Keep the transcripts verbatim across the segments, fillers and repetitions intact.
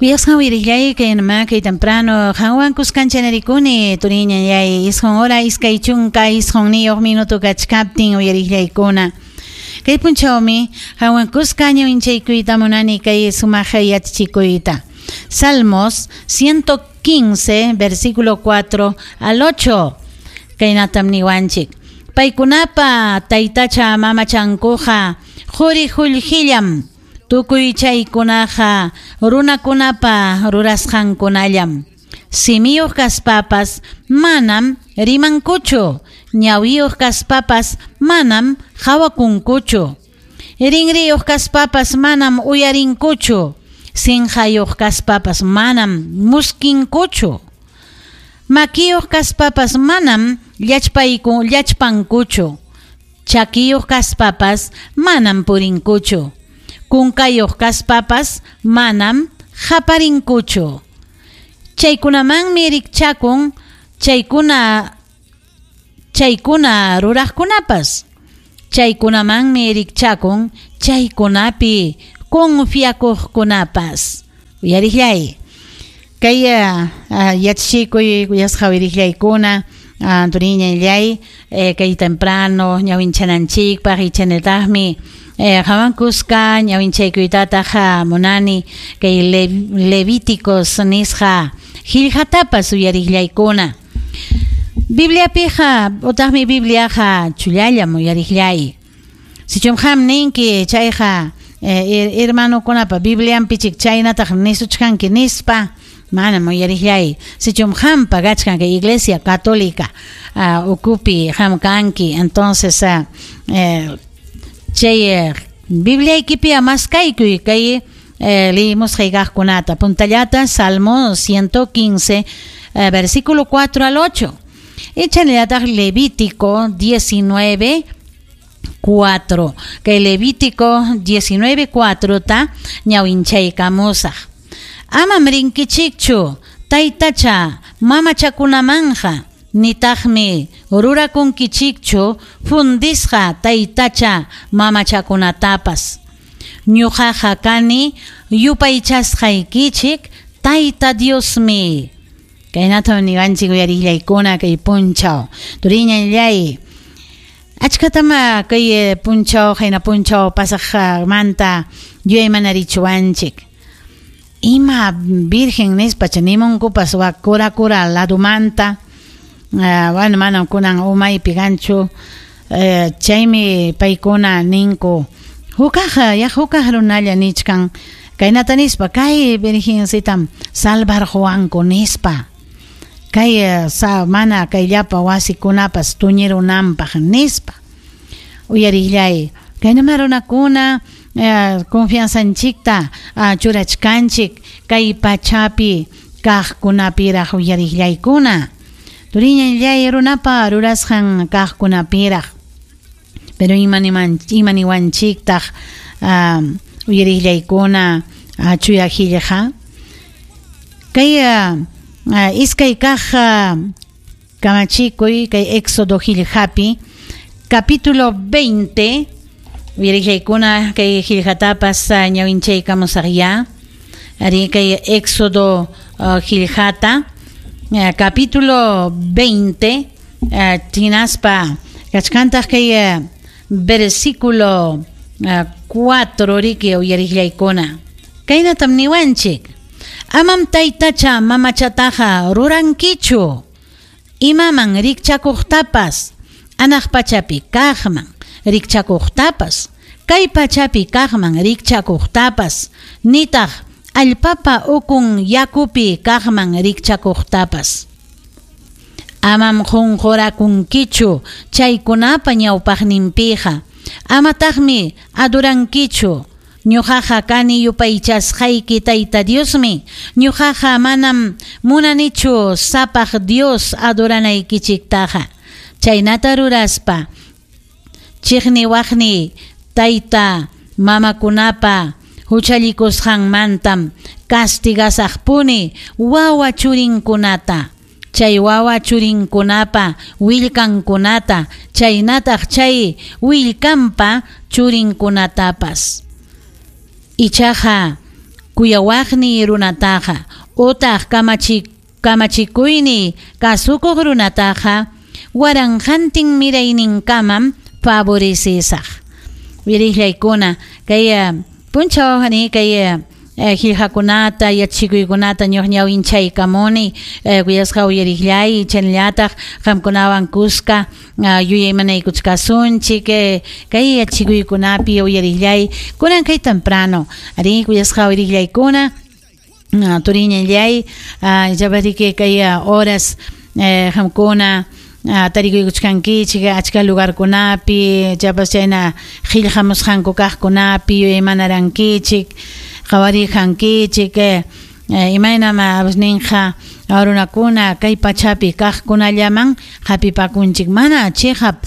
Kuyasqan wirillay kay nama kay temprano qanwan kuskanchanerikuni turiñayay isqun hora iskay chunka isqunniyuq minuto kachkaptin uyarillaykuna. Kay punchawmi qanwan kuska ñawinchaykuyta munani kay sumaq yachachikuyta. Salmos ciento quince versículo cuatro al ocho. Kaynatam niwanchik. Paykunapa taytacha mamachankuqa quri qullqillam. Tukuy chaykunaqa runakunapa rurasqankunallam. Simiyuq kaspapas manam rimankuchu, ñawiyuq kaspapas manam hawakunkuchu. Rinriyuq kaspapas manam uyarinkuchu, sinqayuq kaspapas manam muskinkuchu. Makiyuq kaspapas manam llachpayku llachpankuchu, chakiyuq kaspapas manam purinkuchu. Kunkayuq kaspapas manam haparinkuchu. Chaykunamanmi rikchakun chaykuna chaykuna ruraqkunapas. Chaykunamanmi rikchakun chaykunapi confiakuqkunapas. Uyarillay. Kay yachachikuy kuyasqa wirillaykuna turiñayllay kay temprano ñawinchananchikpaq ichanataqmi qhawan kuska ñawinchaykuytataq munani kay Levíticos nisqa qillqatapas uyarillaykuna. Bibliapiqa utaqmi Bibliaqa chullallam uyarillay. Sichum qam ninki chayqa hermanokunapa Biblianpichik chaynataq nisuchkanki nispa manam uyarillay. Sichum qampa kachkan kay Iglesia Católica ukupi qam kanki, entonces chay Bibliaykipi maskaykuy kay leímos kaqkunata. Puntallata Salmo ciento quince versículo cuatro al ocho. Echanellataq Levítico diecinueve cuatro. Kay Levítico diecinueve cuatro ta ñawinchaykamusaq. Amam rinkichikchu taytacha mamachakunamanja nitaqmi rurakunkichikchu fundisqa taytacha mamachakunatapas. Ñuqaqa kani yupaychasqaykichik Tayta Diosmi. Kaynatam niwanchik uyarillaykuna kay punchaw. Turiñayllay. Achkatama kay punchaw hayna punchaw pasaqmanta yuyaymanarichuwanchik. Ima virgen nispa nimunkupas wak kura kura ladumanta. Uh, bueno, manam kunan umaypi kanchu. Uh, chaymi paykuna ninku hukaq ya hukaq runalla nichkan kaynata nispa kay virgencitam salvarquwanku nispa. Kay sa mana kay llapa wasikunapas tuñirunanpaq nispa. Uyarillay kaynama runakuna uh, confianzanchikta uh, churachkanchik kay pachapi kaqkunapiraq uyarillaykuna. Turiñayllay runapa rurasqan kaqkunapiraq. Pero imaniwanchiktaq um, uyarillaykuna uh, chuya qillqa. Kay uh, uh, iskay kaq uh, kamachikuy kay Éxodo qillqapi capítulo veinte uyarillaykuna kay qillqatapas uh, ñawinchaykamusaqya. Ari kay Éxodo uh, qillqata Uh, capítulo veinte, uh, tinaspa kachkantaq kay uh, versículo uh, cuatro riki uyarillaykuna. Kaynatam niwanchik. Amam taytacha mamachataqa rurankichu. Imaman rikchakuqtapas, anaq pachapi kaqman rikchakuqtapas, kay pachapi kaqman rikchakuqtapas, nitaq allpapa ukun yakupi kaqman rikchakuqtapas. Amam qunqurakunkichu chaykunapa ñawpaqninpiqa. Amataqmi adurankichu. Ñuqaqa kani yupaychasqayki Tayta Diosmi. Ñuqaqa manam munanichu sapaq Dios aduranaykichiktaqa. Chaynata ruraspa chiqniwaqni tayta mamakunapa huchallikusqanmantam castigasaqpuni wawa churinkunata, chay wawa churinkunapa willkankunata, chaynataq chay willkanpa churinkunatapas. Ichaqa Kuyawaqniy runataqa utaq kamachi kamachikuyniy kasukuq runataqa waranqantin mirayninkamam favorecesaq. Uyariqllaykuna kay punchaw hani kay qillqakunata yachikuykunata ñuqñawinchaykamuni kuyasqa uyariqllay chaynallataq qamkunawan kuska yuyaymanaykuchkasunchik kay yachikuykunapi uyariqllay kunan kay temprano ari kuyasqa uyariqllaykuna turiñallay yapariki kay horas qamkuna tarikuykuchkankichik achka lugarkunapi chapas chayna qillqamusqanku kaqkunapi yuyaymanarankichik qhawariqankichik imaynam ninqa runakuna kay pachapi kaqkunallaman hapipakunchik mana chiqap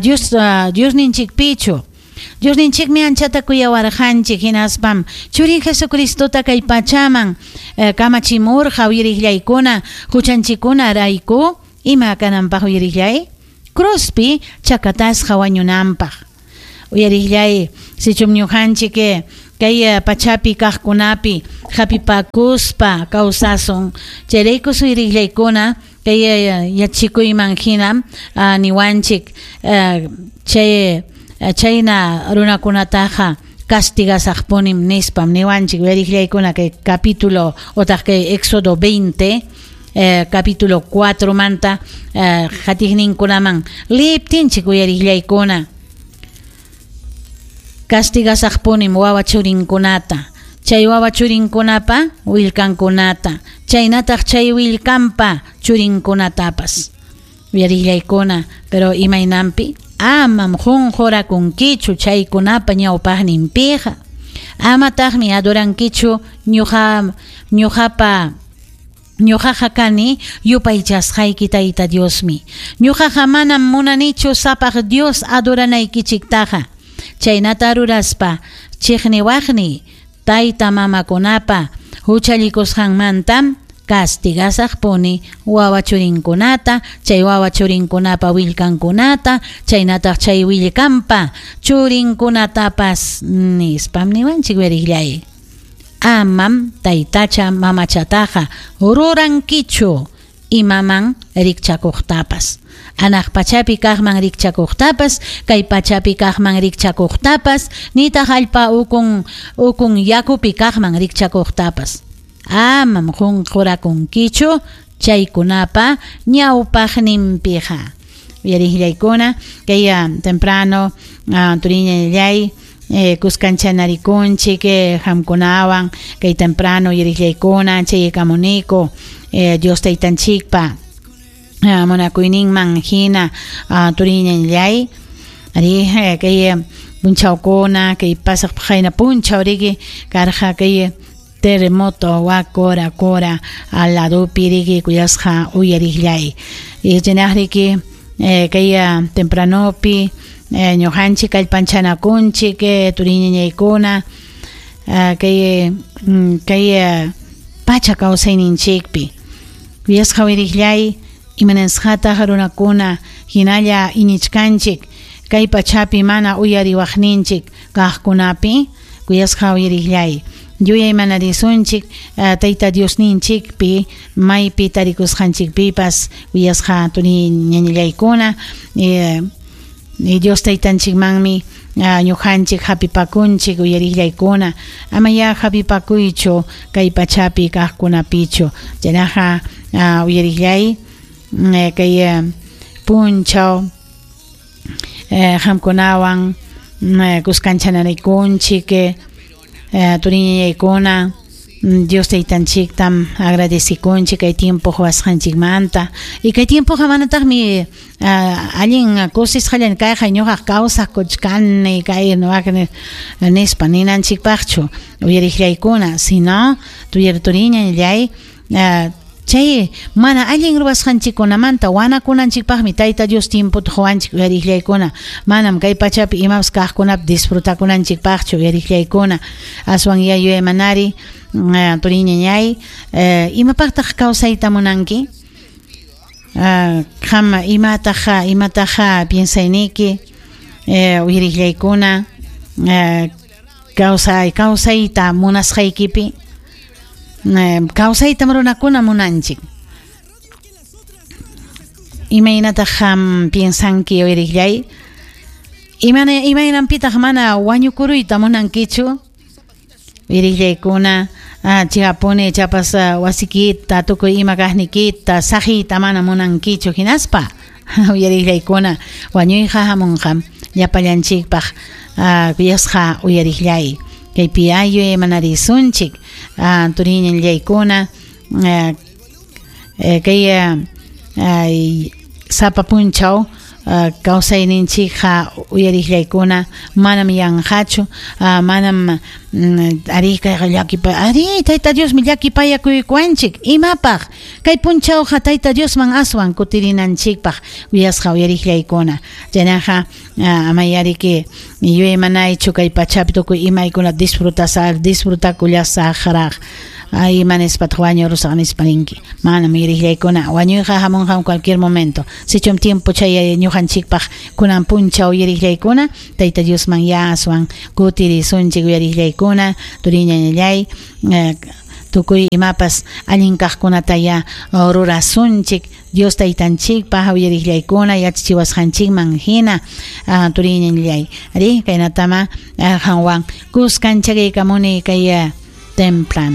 Dios Diosninchikpichu. Diosninchikmi anchata kuyawarqanchik hinaspam churin Jesucristota kay pachaman kamachimurqa uyariqllaykuna huchanchikkuna rayku ima kananpaq uyariqllay cruzpi chakatasqa wañunanpaq. Uyariqllay sichum ñuqanchik kay pachapi kaqkunapi hapipakuspa kawsasun chayrayku suyriqllaykuna kay yachikuyman hinam niwanchik chay chayna runakunataqa castigasaqpunim nispam niwanchik uyariqllaykuna kay capítulo otaq kay Éxodo veinte eh, capítulo cuatro manta eh, qatiqninkunaman liptinchik uyariqllaykuna castigasaqpunim wawa churinkunata chay wawa churinkunapa willkankunata chaynataq chay willkanpa churinkunatapas uyariqllaykuna pero imaynanpi amam qunqurakunkichu chaykunapa ñawpaqninpiqa amataqmi adorankichu ñuqa ñuqapa ñuqaqa kani yupaychasqayki Tayta Diosmi ñuqaqa manam munanichu sapaq Dios adoranaykichiktaqa chaynata ruraspa chiqniwaqni tayta mamakunapa huchallikusqanmantam castigasaqpuni wawa churinkunata chay wawa churinkunapa willkankunata chaynataq chay willkanpa churinkunatapas nispam niwanchik uyariqllay amam taytacha mamachataqa rurankichu imaman rikchakuqtapas anaq pachapi kaqman rikchakuqtapas kay pachapi kaqman rikchakuqtapas nitaq allpa ukun ukun yakupi kaqman rikchakuqtapas amam qunqurakunkichu chaykunapa ñawpaqninpiqa uyariqllaykuna kay temprano turiñallay eh, kuskanchanarikunchik qamkunawan kay temprano uyariqllaykuna chaykamuniku eh, Dios taytanchikpa munakuyninman hina turiñallay ari kay punchawkuna kay pasaq qayna punchaw riki karqa kay terremoto wa kora kora al ladopi riki kuyasqa uyariqllay chaynaq riki kay tempranopi ñuqanchik kallpanchanakunchik turiñañaykuna kay kay pacha kawsayninchikpi kuyasqa uyariqllay imanasqataq runakuna hinalla iñichkanchik kay pachapi mana uyariwaqninchik kaqkunapi kuyasqa uyariqllay yuyaymanarisunchik Tayta Diosninchikpi maypi tarikusqanchikpipas kuyasqa turiñañallaykuna Dios taytanchikmanmi ñuqanchik hapipakunchik uyariqllaykuna amaya hapipakuychu kay pachapi kaqkunapichu chaynaqa uyariqllay kay punchaw qamkunawan kuskanchanarikunchik turiñañaykuna Dios taytanchiktam agradecikunchik kay tiempo quwasqanchikmanta y kay tiempoqa manataqmi allin kusisqallan kayqa ñuqaq kawsaqkuchkani kay nispa ninanchikpaqchu uyariqllaykuna sino turiñallay chay mana allin ruwasqanchikkunamanta wanakunanchikpaqmi Tayta Dios tiempota quwanchik uyariqllaykuna manam kay pachapi imapas kaqkunapi disfrutakunanchikpaqchu uyariqllaykuna aswan yuyaymanari turiñañay imapaqtaq kawsayta munanki qam imataq imataq piensayniki uyariqllaykuna kawsay kawsayta munasqaykipi Kawsaytam runakuna munanchik. Imaynataq qam piensanki uyariqllay? Imana imaynanpitaq mana wañukuruyta munankichu? Uyariqllaykuna, chikapuni chapas wasikita tukuy ima kaqnikita saqiyta mana munankichu hinaspa uyariqllaykuna wañuyqa hamunqam llapallanchikpaq kuyasqa uyariqllay. Kaypi ayu imanarisunchik turiñallaykuna kay sapa punchaw kawsayninchikqa uyariqllaykuna manam yanqachu, manam ari kayqa llakipa ari Tayta Diosmi llakipayakuykuwanchik imapaq kay punchawqa Tayta Diosman aswan kutirinanchikpaq uyasqa uyariqllaykuna. Chaynaqa amayariki yuyaymanaychu kay pachapi tukuy imaykuna disfrutasaq disfrutakullasaqraq ay ima nispataq wañurusaq nispa ninki. Manam uyariqllaykuna wañuyqa hamunqam cualquier momento. Sichum tiempo chay ñuqanchikpaq kunan punchaw uyariqllaykuna Tayta Diosman ya aswan kutirisunchik uyariqllaykuna turiñañallay tukuy imapas allin kaqkunata ya rurasunchik Dios taytanchikpaq uyariqllaykuna yachachiwasqanchikman hina turiñañallay. Ari kaynatama qanwan kuskanchakaykamuni kay temprano.